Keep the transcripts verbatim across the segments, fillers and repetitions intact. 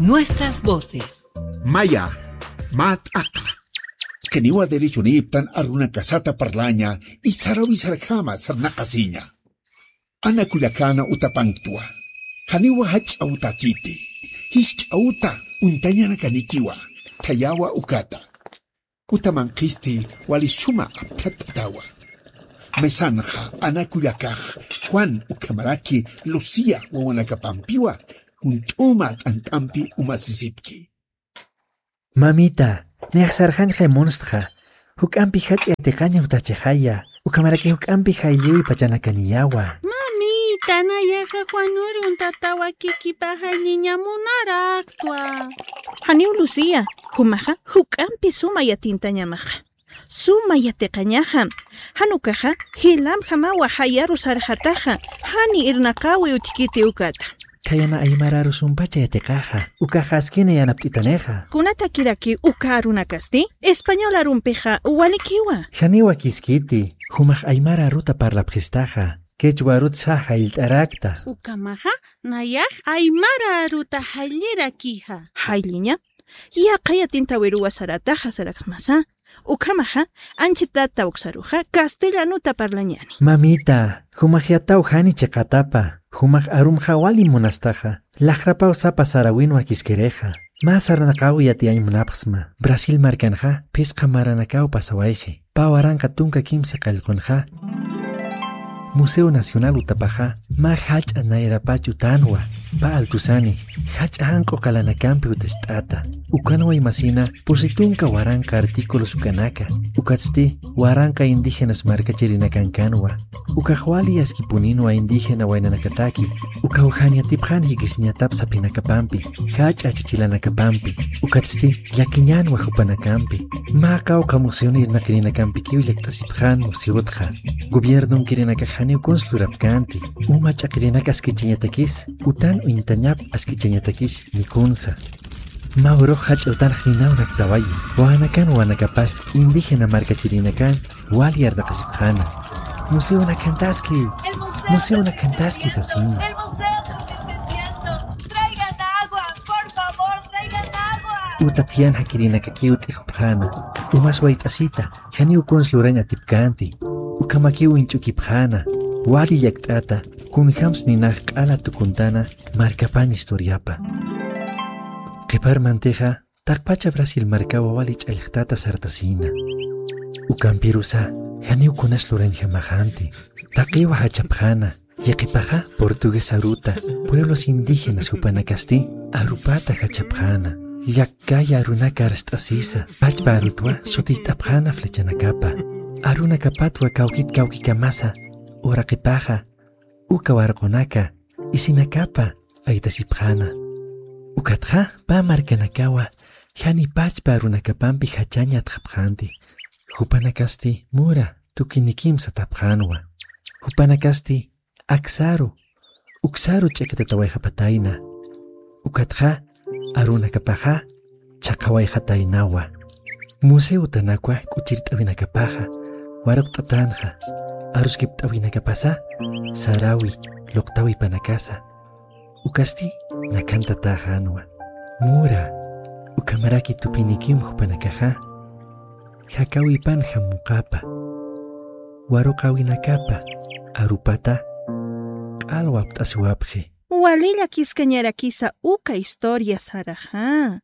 Nuestras voces. Maya, mä t'aqa. Janiwa derechonïptan arunakasata parlaña, y sarawisarjama sarnaqasiña. Ana kullakäna utapanktwa. Janiwa jach'a utakiti. Jisk'a uta uñtañanakanikiwa. Thayawa ukata. Uta manqhisti wali suma apthat'atawa. Mesanxa ana kullakax Juan ukhamaraki Lucía wawanakapampiwa junt'uma t'ant'ampi umasisipki. Mamita, nayax sarxañxay munstxa. Juk'ampi jach'a yatiqaña jutachixaya. Ukhamaraki juk'ampi jaylliwi pachanakaniyawa. Mamita, nayaxa Juan urun tatawakikipa jaylliña munaraktwa. Janiw Lucía, jumaxa juk'ampi suma yatintañamaxa. Suma yatiqañaxa. Jan ukaxa jilamjamawa jayaru sarxataxa. Jani irnaqawi utjkiti ukata. Khayana aymararu sumpacha yatiqaxa, ukaxa askina yanapt'itanixa. Kunatakiraki uka arunakasti? Español arumpixa walikiwa. Janiwa kiskiti, jumax aymara aruta parlapxistaxa, quechua arutsa jayllt'arakta. Ukhamaxa, nayax aymara aruta jayllirakixa. Jaylliña, yaqha yatintawiruwa sarataxa saraksmasa. Ukhamaxa, anchhitata uksaruxa, castellanota parlañani. Mamita, jumax yataw jani chiqatapa, jumax arumxa wali munastaxa, laxrapaw sapa sarawinwa kiskirixa. Mä sarnaqaw yatiyañ munapxsma, Brasil markanxa, phisqa maranakaw pasawayxi, pä waranqa tunka kimsa qallqunxa, Museo Nacional utapaxa, mä jach'a nayrapach utanwa, pä altusani, jach'a janq'u qalanakampi utist'ata. Ukanwa imasina, pusi tunka waranqa artículos ukanaka. Ukatsti, waranqa indígenas markachirinakankänwa. Ukax wali askipuninwa indígena waynanakataki. Ukaw jan yatipxän jikisiñatap saphinakapampi, jach'a achachilanakapampi. Ukatsti, llakiñänwa jupanakampi. Mä qawqha museon irnaqirinakampikiw llakt'asipxän museotxa. Gobiernonkirinakax janiw kuns lurapkänti. Uma ch'aqirinaka askichañatakis, utan uñtañap askichañatakis, ni kunsa. Mä urux jach'a utanx ninawnaktawaya. Wawanakan wawanakapas indígena markachirinakan wali arnaqasipxäna. Museonakantaski, museonakantaski sasina. El museo se está incendiando. Traigan agua, por favor, traigan agua. Uta thiyan jakirinakakiw t'ijupxäna. Umas wayt'asita, janiw kuns lurañ atipkänti. Ukhamakiw uñch'ukipxäna. Wali llakt'ata, kunjams ninax q'ala tukuntana markapan historiapa. Qhiparmantixa, taqpacha Brasil markawa wali ch'allxtata sartasïna. Ukampirusa, janiw kunas lurañjamaxänti. Taqiwa jachapxäna, yaqhipaxa portugués aruta, pueblos indígenas jupanakasti, arupata jachapxäna. Llakkaya arunaka arst'asisa, pachpa arutwa sutist'apxäna flechanakapa. Arunakapatwa kawkit kawkikamasa, uraqipaxa, uka warqunaka, isinakapa aytasipxäna. Ukatxa, pä markanakawa, jani pachpa arunakapampi jachañ yatxapxänti. Jupanakasti mura tukinikim satapxänwa. Jupanakasti aksaru, uksaru ch'iqitatawayxapatayna. Ukatxa, arunakapaxa, chhaqhawayxataynawa. Museo utanakwa k'uchirt'awinakapaxa, waruqt'atänxa, aruskipt'awinakapasa, sarawi, luqtawipanakasa. Ukasti, nakantatäxänwa. Mura, ukhamaraki tupinikim jupanakaxa, jakawipan jamuqapa. Waruqawinakapa, arupata, q'al wapt'asiwapxi. Wali llakiskañarakisa uka historia saraxa.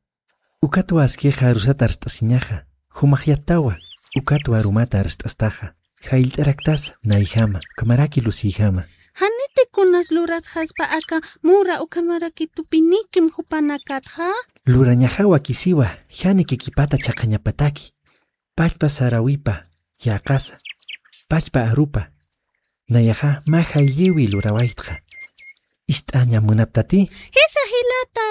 Ukatwa askixa arusat arst'asiñaxa, jumax yatawa, ukatwa arumata arst'astaxa, jayllt'araktasa, nayjama, ukhamaraki Lucïjama. Janiti kunas lurasxaspa aka mura ukhamaraki tupinikim jupanakatxa? Lurañaxa wakisiwa, jani kikipata chhaqhañapataki, pachpa sarawipa, yäqasa, pachpa arupa, nayaxa mä jaylliwi lurawaytxa. Ist'aña munaptati? Jisa jilata.